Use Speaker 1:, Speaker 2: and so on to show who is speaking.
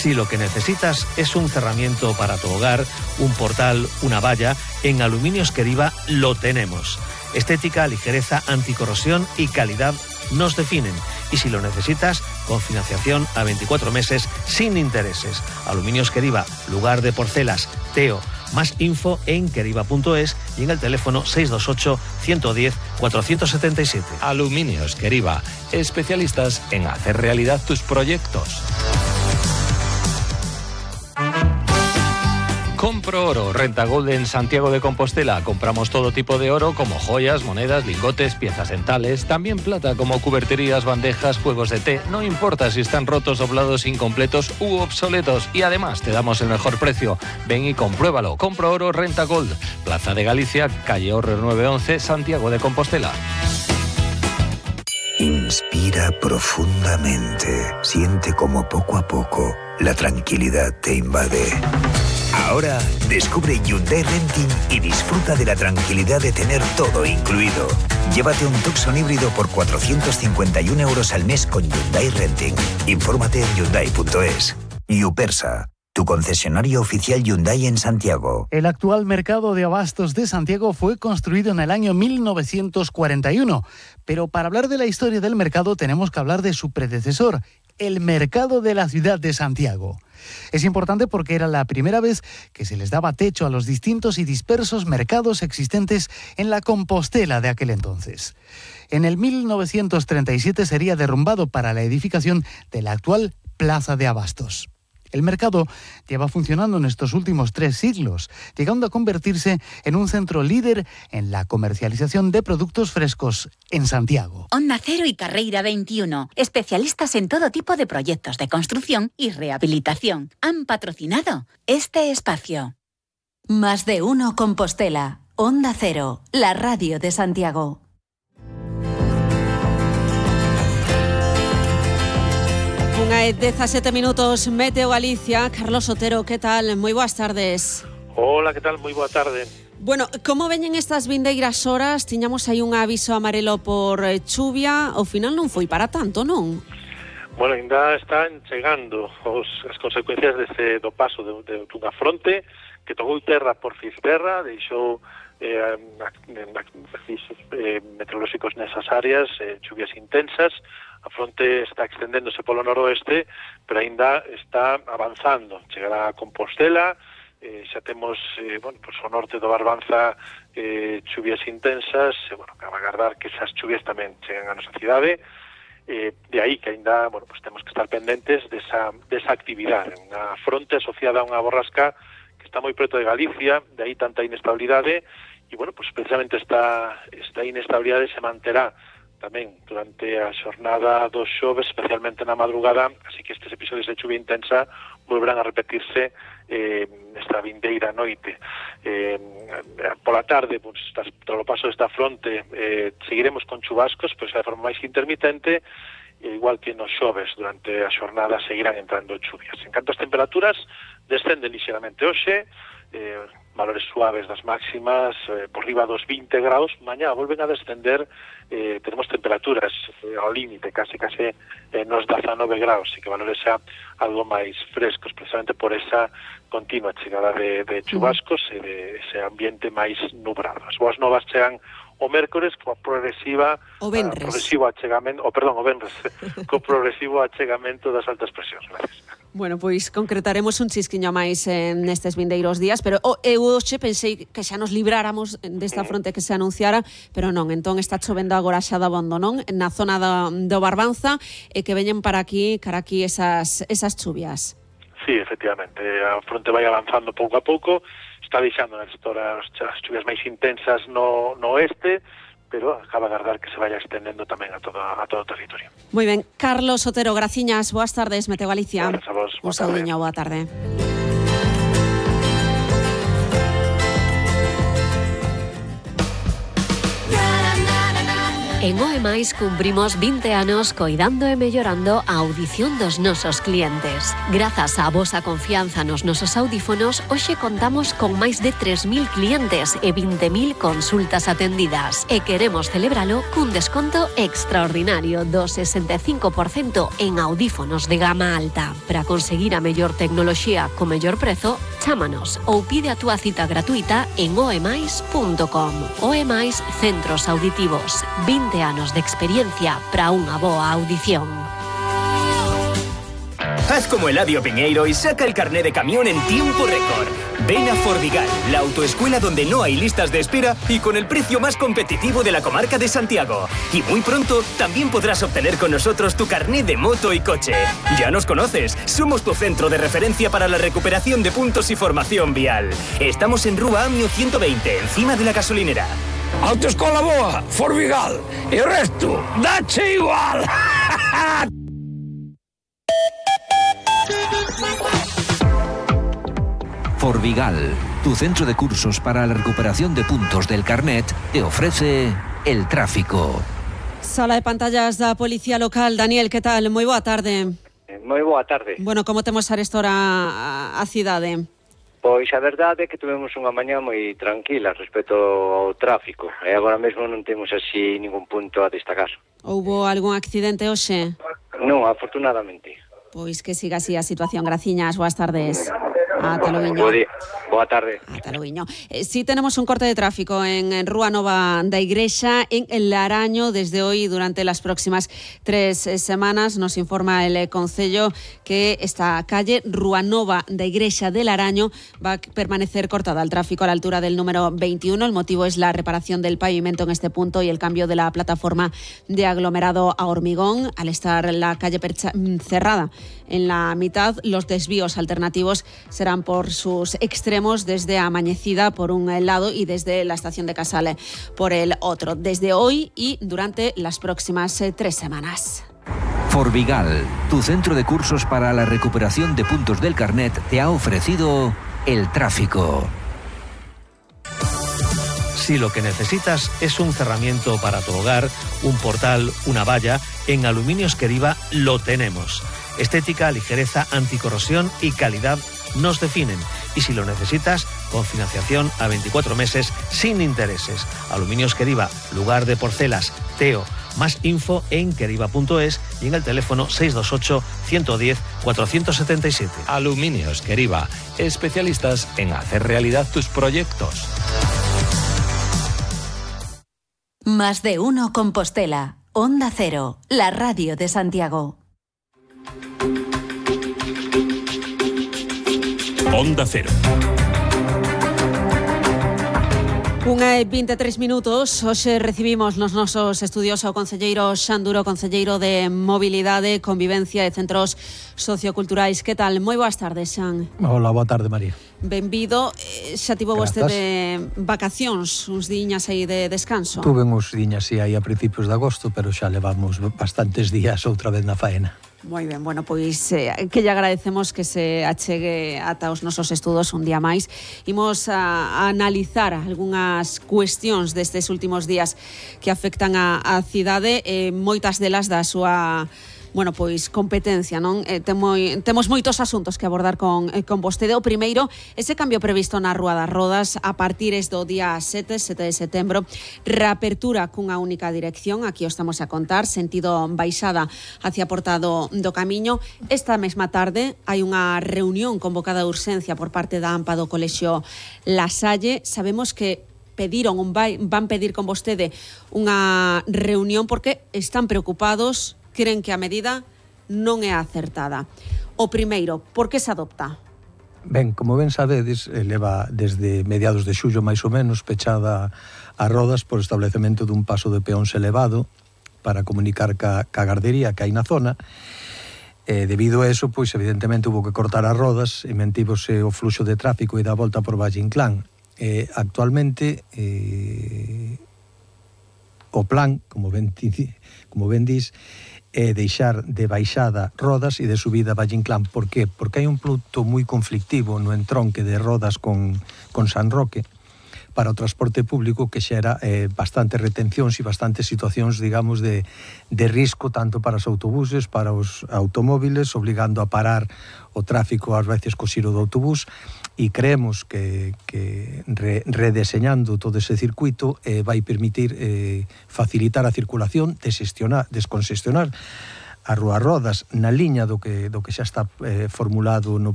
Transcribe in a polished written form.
Speaker 1: Si lo que necesitas es un cerramiento para tu hogar, un portal, una valla, en Aluminios Queriva lo tenemos. Estética, ligereza, anticorrosión y calidad nos definen. Y si lo necesitas, con financiación a 24 meses sin intereses. Aluminios Queriva, lugar de porcelas, Teo. Más info en queriva.es y en el teléfono 628 110 477.
Speaker 2: Aluminios Queriva, especialistas en hacer realidad tus proyectos. Compro Oro, Renta Gold en Santiago de Compostela. Compramos todo tipo de oro como joyas, monedas, lingotes, piezas dentales, también plata como cuberterías, bandejas, juegos de té. No importa si están rotos, doblados, incompletos u obsoletos. Y además te damos el mejor precio. Ven y compruébalo. Compro Oro, Renta Gold. Plaza de Galicia, calle Horrer 911, Santiago de Compostela.
Speaker 3: Inspira profundamente. Siente como poco a poco la tranquilidad te invade. Ahora descubre Hyundai Renting y disfruta de la tranquilidad de tener todo incluido. Llévate un Tucson híbrido por 451 € al mes con Hyundai Renting. Infórmate en hyundai.es. Yupersa, tu concesionario oficial Hyundai en Santiago.
Speaker 4: El actual mercado de abastos de Santiago fue construido en el año 1941. Pero para hablar de la historia del mercado tenemos que hablar de su predecesor, el mercado de la ciudad de Santiago. Es importante porque era la primera vez que se les daba techo a los distintos y dispersos mercados existentes en la Compostela de aquel entonces. En el 1937 sería derrumbado para la edificación de la actual Plaza de Abastos. El mercado lleva funcionando en estos últimos 3 siglos, llegando a convertirse en un centro líder en la comercialización de productos frescos en Santiago.
Speaker 5: Onda Cero y Carreira 21, especialistas en todo tipo de proyectos de construcción y rehabilitación, han patrocinado este espacio.
Speaker 6: Más de uno Compostela, Onda Cero, la radio de Santiago.
Speaker 7: Unha e 17 minutos, Meteo Galicia. Carlos Otero, que tal? Moi boas tardes.
Speaker 8: Hola, que tal? Moi boa tarde.
Speaker 7: Bueno, como veñen estas vindeiras horas? Tiñamos aí un aviso amarelo por chuvia, ao final non foi para tanto, non?
Speaker 8: Bueno, ainda están chegando as consecuencias do paso dunha fronte que tocou terra por Fisterra, deixou meteorolóxicos nesas áreas, chuvias intensas. A fronte está extendéndose polo noroeste, pero aínda está avanzando. Chegará a Compostela, xa temos o norte do Barbanza chuvias intensas, cabe agardar que esas chuvias tamén cheguen a nosa cidade. De aí que aínda temos que estar pendentes desa actividade. Unha fronte asociada a unha borrasca que está moi preto de Galicia, de aí tanta inestabilidade, e precisamente esta inestabilidade se manterá tamén durante a xornada do xoves, especialmente na madrugada, así que estes episodios de chuvia intensa volverán a repetirse nesta vindeira noite. Pola tarde, tras o paso desta fronte, seguiremos con chubascos, pero xa de forma máis intermitente, igual que nos xoves, durante a xornada seguirán entrando chuvias. En canto ás temperaturas, descenden lixeramente hoxe, valores suaves das máximas, por riba dos 20 graus, mañá volven a descender, tenemos temperaturas ao límite, case nos 19 graus, e que valores xa algo máis frescos, precisamente por esa continua chegada de chubascos e de ese ambiente máis nublado. As boas novas chegan o mércores co progresivo achegamento, co progresivo achegamento das altas presións. Gracias.
Speaker 7: Bueno, pois concretaremos un chisquiño máis nestes vindeiros días, pero eu hoxe pensei que xa nos libráramos desta fronte que se anunciara, pero non, entón está chovendo agora xa dabondo, non? Na zona do Barbanza, e que veñen cara aquí esas chuvias.
Speaker 8: Sí, efectivamente, a fronte vai avanzando pouco a pouco, está deixando as chuvias máis intensas no oeste, pero acaba de agardar que se vaya extendendo tamén a todo o territorio.
Speaker 7: Moi ben, Carlos Otero, graciñas, boas tardes, Meteo Galicia.
Speaker 8: Gracias a vos,
Speaker 7: un saudiño, boa tarde.
Speaker 9: En OEMais cumprimos 20 anos coidando e mellorando a audición dos nosos clientes. Grazas á vosa confianza nos nosos audífonos, hoxe contamos con máis de 3.000 clientes e 20.000 consultas atendidas. E queremos celebralo cun desconto extraordinario do 65% en audífonos de gama alta. Para conseguir a mellor tecnoloxía co mellor prezo, chámanos ou pide a túa cita gratuita en oemais.com. OEMais Centros Auditivos. 20 anos de experiencia para unha boa audición.
Speaker 10: Haz como Eladio Piñeiro y saca el carné de camión en tiempo récord. Ven a Forvigal, la autoescuela donde no hay listas de espera y con el precio más competitivo de la comarca de Santiago. Y muy pronto también podrás obtener con nosotros tu carné de moto y coche. Ya nos conoces, somos tu centro de referencia para la recuperación de puntos y formación vial. Estamos en Rúa Amio 120, encima de la gasolinera.
Speaker 11: Autoescola boa, Forvigal, e o resto, dache igual.
Speaker 12: Forvigal, tu centro de cursos para la recuperación de puntos del carnet, te ofrece el tráfico.
Speaker 7: Sala de pantallas da Policía Local. Daniel, que tal? Moi boa tarde.
Speaker 13: Moi boa tarde.
Speaker 7: Bueno, como temos arestora a cidade?
Speaker 13: Pois a verdade é que tivemos unha mañá moi tranquila respecto ao tráfico e agora mesmo non temos así ningún punto a destacar.
Speaker 7: Houbo algún accidente hoxe?
Speaker 13: Non, afortunadamente.
Speaker 7: Pois que siga así a situación. Graciñas, boas tardes. Ata loiño.
Speaker 13: Boa tarde.
Speaker 7: Ata loiño. Sí tenemos un corte de tráfico en Rúa Nova da Igrexa, en El Laraño, desde hoy durante las próximas 3 semanas. Nos informa el Concello que esta calle, Rúa Nova da Igrexa de Laraño, va a permanecer cortada al tráfico a la altura del número 21. El motivo es la reparación del pavimento en este punto y el cambio de la plataforma de aglomerado a hormigón. Al estar la calle cerrada en la mitad, los desvíos alternativos serán por sus extremos desde Amañecida por un lado y desde la estación de Casale por el otro, desde hoy y durante las próximas 3 semanas.
Speaker 12: Forvigal, tu centro de cursos para la recuperación de puntos del carnet, te ha ofrecido el tráfico.
Speaker 1: Si lo que necesitas es un cerramiento para tu hogar, un portal, una valla, en Aluminios Queriva lo tenemos. Estética, ligereza, anticorrosión y calidad nos definen. Y si lo necesitas, con financiación a 24 meses sin intereses. Aluminios Queriva, lugar de porcelas, Teo. Más info en queriva.es y en el teléfono 628 110 477.
Speaker 2: Aluminios Queriva, especialistas en hacer realidad tus proyectos.
Speaker 6: Más de uno Compostela. Onda Cero, la radio de Santiago.
Speaker 11: Onda Cero.
Speaker 7: 1:23 minutos. Hoxe recibimos nos nosos estudios ao concelleiro Xan Duro, concelleiro de Mobilidade, Convivencia e Centros Socioculturais. Que tal? Moi boas tardes, Xan.
Speaker 14: Hola, boa tarde, María.
Speaker 7: Benvido. Xa tivo vostede vacacións, uns diñas aí de descanso?
Speaker 14: Tuve uns diñas aí a principios de agosto, pero xa levamos bastantes días outra vez na faena.
Speaker 7: Moi ben, bueno, pois que lle agradecemos que se achegue ata os nosos estudos un día máis. Imos a analizar algunhas cuestións destes últimos días que afectan a cidade, moitas delas da súa pois competencia, non? Temos moitos asuntos que abordar con vostede. O primeiro, ese cambio previsto na Rúa das Rodas a partir do día 7 de setembro, reapertura cunha única dirección, aquí o estamos a contar, sentido baixada hacia a Porta do Camiño. Esta mesma tarde hai unha reunión convocada de urxencia por parte da AMPA do Colexio La Salle. Sabemos que van pedir con vostede unha reunión porque están preocupados, creen que a medida non é acertada. O primeiro, por que se adopta?
Speaker 14: Ben, como ben sabedes, leva desde mediados de xullo máis ou menos pechada a Rodas por establecemento dun paso de peóns elevado para comunicar ca gardería que hai na zona. Debido a eso, pois evidentemente hubo que cortar as Rodas e mantívose o fluxo de tráfico e da volta por Valle Inclán. Actualmente o plan, como ben dis, é deixar de baixada Rodas e de subida Valle Inclán. Por qué? Porque hai un punto moi conflictivo no entronque de Rodas con San Roque, para o transporte público que xera bastantes retencións e bastantes situacións, digamos, de risco tanto para os autobuses, para os automóviles, obligando a parar o tráfico ás veces co xiro do autobús, e creemos que redeseñando todo ese circuito vai permitir facilitar a circulación, descongestionar a Rúa Rodas na liña do que xa está formulado no